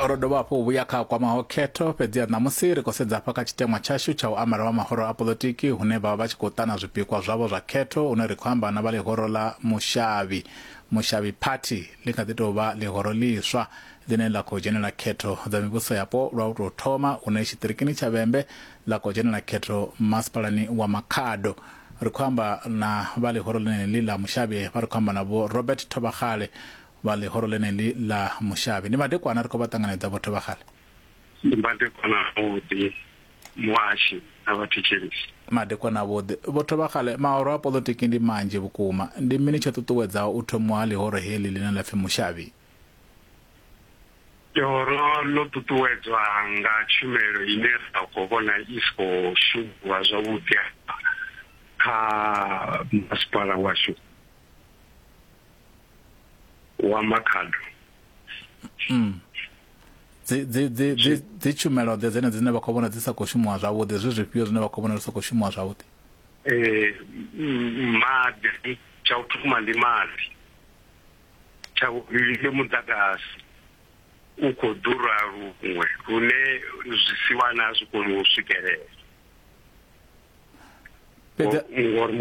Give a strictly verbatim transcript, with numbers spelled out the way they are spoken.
Ro dovha hafhu vhuya kha kwamaho khetho, fhedzi ṋamusi ri khou sedza hafha kha tshiteṅwa tshashu tsha u amara vha mahoro a poḽotiki hune vha vha vha tshi khou ṱana zwipikwa zwavho zwa khetho, hune ri khou amba na vha ḽihoro ḽa Mushavhi. Mushavhi Party ḽi kha ḓi tou vha ḽihoro ḽiswa ḽine ḽa khou dzhenela khetho dza mivhuso yapo lwa u tou thoma, hune tshiṱirikini tsha Vhembe ḽa khou dzhenela khetho masipalani wa Makhado. Ri khou amba na vha ḽihoro ḽeneḽi ḽa Mushavhi, vha ri khou amba na Vho Robert Thobagale vha ḽihoro ḽeneḽi ḽa Mushavhi. Ndi madekwana, ri khou vha ṱanganedza Vho Thobagale. Ndi madekwana avhuḓi muhashi na vhathetshelesi. Madekwana avhuḓi Vho Thobagale. Mahoro a poḽotiki ndi manzhi vhukuma, ndi mini tsho ṱuṱuwedzaho u thomiwa ha ḽihoro heḽi ḽine ḽa pfi Mushavhi? Ḽihoro ḽo ṱuṱuwedzwa nga tshumelo ine ra khou vhona i si khou shumiwa zwavhuḓi kha masipala washu wa Makhado. Mm. Dzi dzi dzi dzi dzi tshumelo ḓe dzene dzine vha khou vhona dzi sa khou shumiwa zwavhuḓi, zwi zwifhio zwine vha khou vhona zwi sa khou shumiwa zwavhuḓi? Eh maḓi, tsha u thoma ndi maḓi, tsha vhuvhili ndi muḓagasi u khou ḓura luṅwe lune zwisiwana a zwi koni u swikelela. Fhedzi ngori